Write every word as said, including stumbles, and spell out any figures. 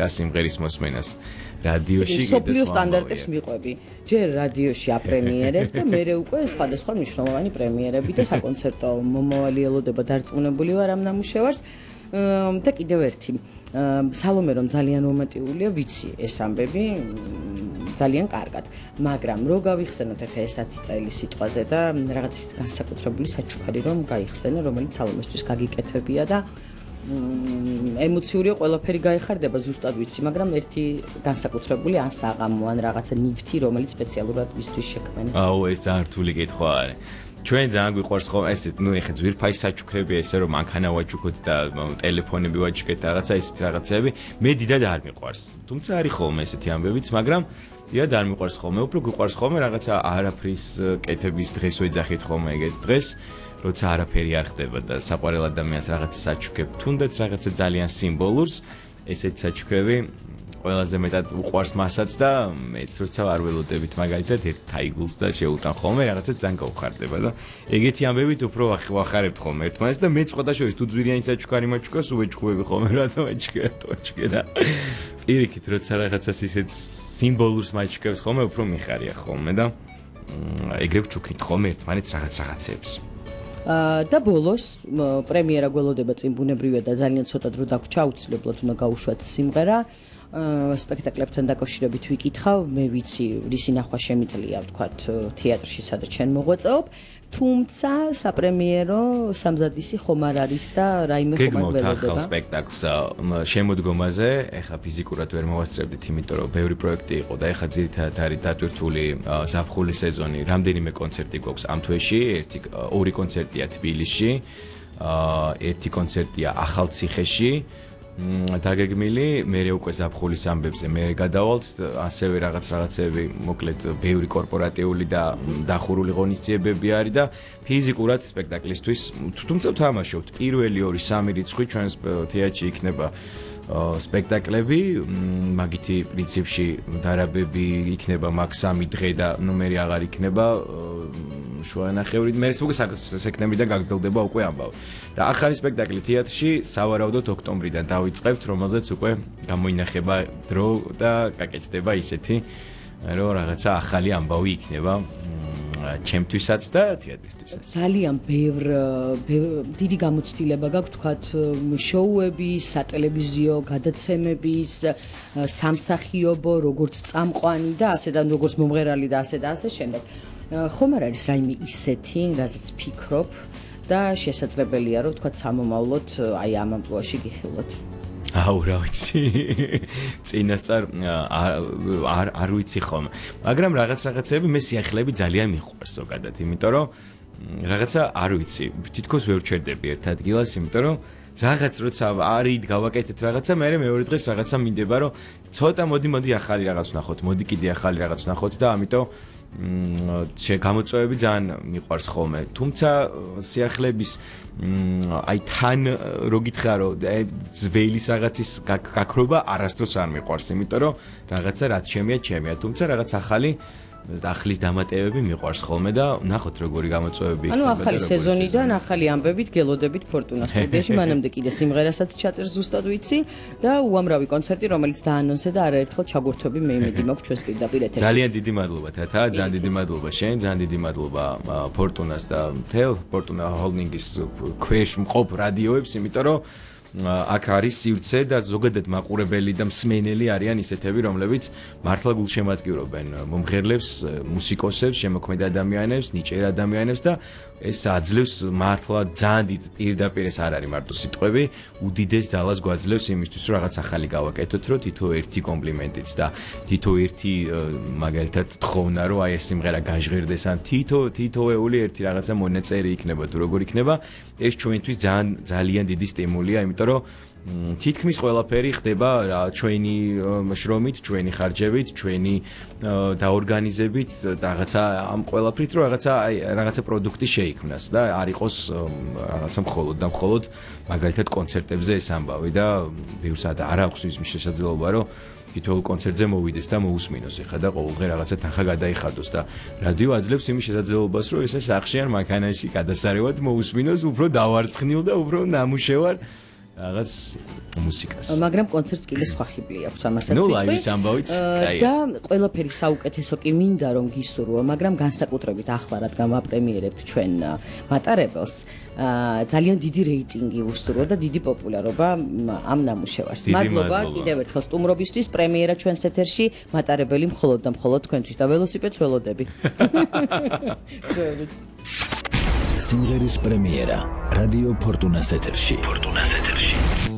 სიმღერის მოსმენას რადიოში სოფლიო სტანდარტებს მიყვები. ჯერ რადიოში აპრემიერებ და მერე უკვე სხვადასხვა მნიშვნელოვანი პრემიერები და საკონცერტო მომავალი ელოდება დარწმუნებული ვარ ამ ნამუშევარს და კიდევ ერთი სალომე რომ ძალიან რომანტიკულია ვიცი ეს ამბები ძალიან კარგად მაგრამ რო გავიხსენოთ ახლა ეს ათი წელი სიტყვაზე და რაღაც განსაკუთრებული საჩუქარი რომ გაიხსენე რომელიც სალომესთვის გაგიკეთებია და ემოციური ყველაფერი გაიხარდება ზუსტად ვიცი, მაგრამ ერთი განსაკუთრებული ან საღამო ან რაღაცა ნივთი, რომელიც სპეციალურად მისთვის შექმნილი. აუ, ეს ძალიან რთული კითხვა არის. ჩვენ ძალიან გვიყვარს ხო ესეთ, ნუ ეხა ძვირფაი საჩუქრებია ესე რომ მანქანა ვაჩუქოთ და ტელეფონები ვაჩუქეთ რაღაცა ისეთი რაღაცები, მე დიდად არ მიყვარს. თუმცა არის ხოლმე ესეთი ამბებიც, მაგრამ დიდად არ მიყვარს ხოლმე, უფრო გვიყვარს ხოლმე რაღაცა არაფრის კეთების დღეს ვეძახით ხოლმე ეგეთ დღეს. როცა არაფერი არ ხდება და საყვარელ ადამიანს რაღაცა საჩუქებ, თუნდაც რაღაცა ძალიან სიმბოლურს, ესეთი საჩუქრები ყველაზე მეტად უყვარს მასაც და მეც როცა არ ველოდებით მაგალითად ერთ თაიგულს და შეუტან ხოლმე რაღაცა ძალიან გავხარდება და ეგეთი ამბებით უფრო ვახარებთ ხოლმე ერთმანეთს და მე სხვა შორის თუ ძვირიანი საჩუქარი მაჩუქოს უეჭხუები ხოლმე რატომ აჩქე აჩქე და პირიქით როცა რაღაცას ისეთ სიმბოლურს მაჩუქებს ხოლმე უფრო მიხარია ხოლმე და ეგრე ვჩუქით ხოლმე ერთმანეთს რაღაც რაღაცებს და ბოლოს პრემიერა გველოდება წინ ბუნებრივია და ძალიან ცოტა დრო დაგვრჩა აუცილებლად უნდა გაუშვათ სიმღერა სპექტაკლებთან დაკავშირებით ვიკითხავ მე ვიცი რისი ნახვა შემიძლია ვთქვათ თეატრში სადაც ჩვენ მოღვაწეობ თუმცა საპრემიერო სამზადისი ხომ არ არის და რაიმე ხომ არ ველოდება გეგმავთ ახალ სპექტაკლს შემოდგომაზე ეხა ფიზიკურად ვერ მოვასწრებდით იმიტომ რომ ბევრი პროექტი იყო და ეხა ძირითადად არის დატვირთული ზაფხულის სეზონი რამდენიმე კონცერტი გვაქვს ამ თვეში ერთი ორი კონცერტია თბილისში ერთი კონცერტია ახალციხეში დაგეგმილი მე უკვე ზაფხულის ამბებზე მე გადავალთ ასევე რაღაც რაღაცები მოკლედ ბევრი კორპორატიული და დახურული ღონისძიებები არის და ფიზიკურად სპექტაკლისთვის თუმცა ვთამაშობთ პირველი ორი სამი რიცხვი ჩვენს თეატრში იქნება სპექტაკლები მაგითი პრინციპში დარაბები იქნება მაგ სამი დღე და ნომერი აღარ იქნება შუანახევრით მე სექტემბრიდან გაგრძელდება უკვე ამბავი და ახალი სპექტაკლი თეატრში სავარაუდოდ ოქტომბრიდან დავიწყებთ რომელზეც უკვე გამოინახება დრო და გაკეთდება ისეთი რომ რაღაცა ახალი ამბავი იქნება ჩემთვისაც და თეატრისთვისაც ძალიან ბევრ დიდი გამოცდილება გაქვთ თქვათ შოუების, სატელევიზიო გადაცემების, სამსახიობო, როგორც წამყვანი და ასე და როგორც მომღერალი და ასე და ასე შემდეგ. ხომ არ არის რაიმე ისეთი, რაზეც ფიქრობ და შესაძლებელია რომ თქვათ სამომავლოდ აი ამ ამპლუაში გიხილოთ. აუ რა ვიცი წინასწარ არ არ ვიცი ხოლმე მაგრამ რაღაც რაღაცები მე სიახლეები ძალიან მიყვარს ზოგადად იმიტომ რომ რაღაცა არ ვიცი თითქოს ვერ ვჩერდები ერთ ადგილას იმიტომ რომ რაღაც როცა არის გავაკეთეთ რაღაცა მე მეორე დღეს რაღაცა მინდება რომ ცოტა მოდი მოდი ახალი რაღაც ვნახოთ მოდი კიდე ახალი რაღაც ვნახოთ და ამიტომ გამოწვევები ძალიან მიყვარს ხოლმე თუმცა სიახლეების აი თან რო გითხრა რომ ძველის რაღაცის გაქრობა არასდროს არ მიყვარს იმიტომ რომ რაღაცა რაც ჩემია ჩემია თუმცა რაღაც ახალი ახლის დამატებები მიყვარს ხოლმე და ნახოთ როგორი გამოწვევები იქნება. ანუ ახალი სეზონიდან ახალი ამბებით გელოდებით ფორტუნას სტუდიაში მანამდე კიდე სიმღერასაც ჩაწერს ზუსტად ვიცი და უამრავი კონცერტი რომელიც დაანონსე და არაერთხელ ჩაგურთვები მე იმედი მაქვს ჩვენს პირდაპირ ეთერში. ძალიან დიდი მადლობა თათა, ძალიან დიდი მადლობა შენ, ძალიან დიდი მადლობა ფორტუნას და მთელ ფორტუნა ჰოლდინგის ქვეშ მყოფ რადიოებს, იმიტომ რომ აქ არის სივრცე და ზოგადად მაყურებელი და მსმენელი არიან ისეთები, რომლებიც მართლა გულშემატკივრობენ მომღერლებს, მუსიკოსებს, შემოქმედ ადამიანებს, ნიჭიერ ადამიანებს და ეს აძლევს მართლა ძალიან დიდ პირდაპირ ეს არ არის მარტო სიტყვები, უდიდეს ძალას გვაძლევს იმისთვის, რომ რაღაც ახალი გავაკეთოთ, რომ თითო ერთი კომპლიმენტიც და თითო ერთი მაგალითად თხოვნა, რომ აი ეს სიმღერა გაჟღერდეს ან თითო თითოეული ერთი რაღაცა მონაწერი იქნება თუ როგორ იქნება, ეს ჩვენთვის ძალიან ძალიან დიდი სტიმულია, იმიტომ რომ თითქმის ყველაფერი ხდება ჩვენი შრომით, ჩვენი ხარჯებით, ჩვენი დაორგანიზებით, რაღაცა ამ ყველაფრით რომ რაღაცა აი რაღაცა პროდუქტი შეიქმნას და არ იყოს რაღაცა მხოლოდ და მხოლოდ მაგალითად კონცერტებზე ეს ამბავი და ბევრსად არ აქვს ის შესაძლებლობა რომ თითოეულ კონცერტზე მოვიდეს და მოусმინოს ეხა და ყოველდღე რაღაცა თანხა გადაიხადოს და რადიო აძლევს იმის შესაძლებლობას რომ ესე სახში ან მანქანაში გადასარევად მოусმინოს უფრო დავარცხნილ და უფრო ნამუშევარ რაღაც მუსიკას. მაგრამ კონცერტს კიდე სხვა ხიბლი აქვს ამასაც ვიტყვი. ნუ ლაივის ამბავიც კაია. და ყველაფერი საუკეთესო კი მინდა რომ გისურვო, მაგრამ განსაკუთრებით ახლა რადგან ვაპრემიერებთ ჩვენ მატარებელს, ძალიან დიდი რეიტინგი უსურვო და დიდი პოპულარობა ამ ნამუშევარს. მადლობა კიდევ ერთხელ სტუმრობისთვის, პრემიერა ჩვენს ეთერში, მატარებელი მხოლოდ და მხოლოდ თქვენთვის და ველოსიპედს ველოდები. სიმღერის პრემიერა რადიო ფორტუნას ეთერში. ფორტუნას ეთერში.